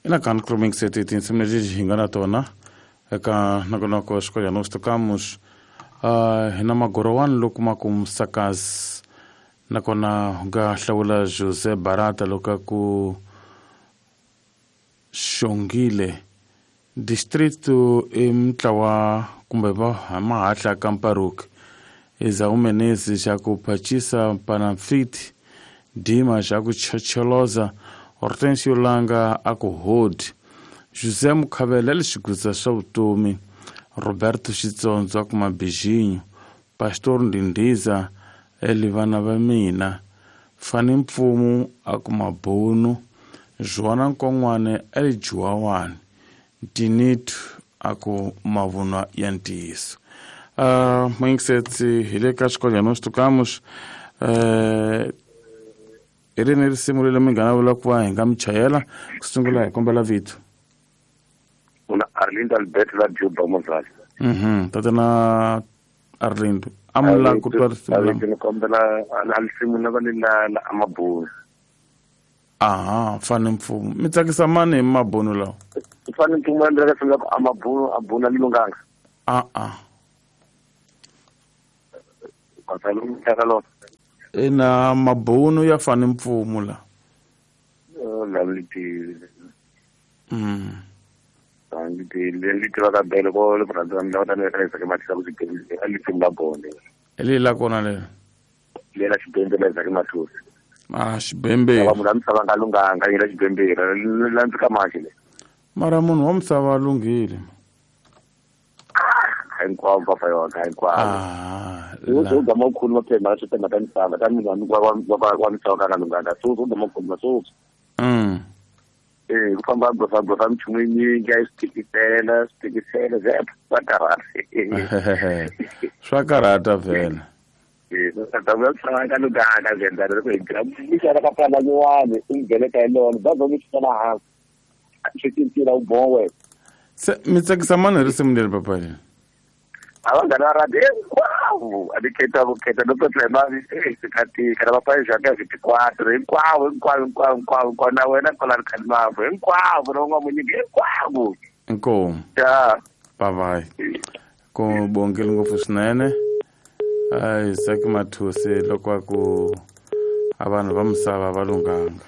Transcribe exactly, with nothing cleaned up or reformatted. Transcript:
Ina kan kroming sete tinsimu leti hi nga na tona eka nongonoko wa Escolha Nós Tocamos. Uh, hi na magorowani loko ma ku musakazi nakona u nga hlawula José Barata loko a ku xongile distrito i mutlawa kumbe va mahahla ka Mparuki Esaú Menezes xa ku phachisa Panamfiti Dima xa ku chocholoza Hortensio Langa a ku hodi José Mukhavela le xigutsa swa vutomi Roberto Xitsondzo a ku Mabijinyo Pastor Ndindiza eli vana va mina Fani Mpfumu a ku Mabunu Joana Nkon'wana eli Juwawani Tinitu a ku mavunwa ya ntiyiso. Uh, Mindset hi le ka Escolha Nós Tocamos. Uh, hi rini risimu leri mi nga na vula ku va hi nga mi chayela ku sungula hi kombela vito. Una Arlindo Alberto la Juba Mozali. Mhm, tatana Arlindo. Amula ku twa risimu la. Ni kombela a risimu la va la la Amabunu. Aha, Fani Mpfumu. Mi tsakisa mani hi mabunu lawa? Fani Mpfumu a ndlela ka Amabunu abuna lilunganga. Ah ah. Ina mabunu ya Fani Mpfumu la. La liti. Mm. Liti liti va ka bele ko le brother nda ta le ka matisa ku xibedhlele a liti la bone. Eli la kona le. Le la xibedhlele la ka mathusi. Ah, xibembe. Va munhu a misava nga lunghanga yi la xibembe la ndzi ka maxi le. Mara munhu wa misava a lunghile. Hinkwavo va fa yona hinkwavo. Ah. U gama u khuluma phela swi timhaka ta misava ta munhu wa wa wa misava ka nga lunghanga so u gama u khuluma so. Mm. Eh ku famba gofa gofa minchumu yinyingi a yi swi tikisela swi tikisela ze swa karhata. Swa karhata vhela. Eh ta vuya misava ka lunghanga ze ndza loko hi tirha mixana ka pala nyuwani u ngheneka hi lona bazi mi xana hansi swi cincile u bowe. Se mi tsakisa mani hi risimu leri papa leri? A va nghana ra hinkwavo a ni khetha ku khetha no petla mali eh sikatika na papai jaka vinte e quatro hinkwavo hinkwavo hinkwavo hinkwavo hinkwavo na wena kwala ri khalimavu hinkwavo na un'wana munyiki hinkwavo. Inkomu. Ya. Bye bye. Ku bongile ngopfu swinene. Isaac Mathusi loko a ku a vanhu va misava va lunghanga.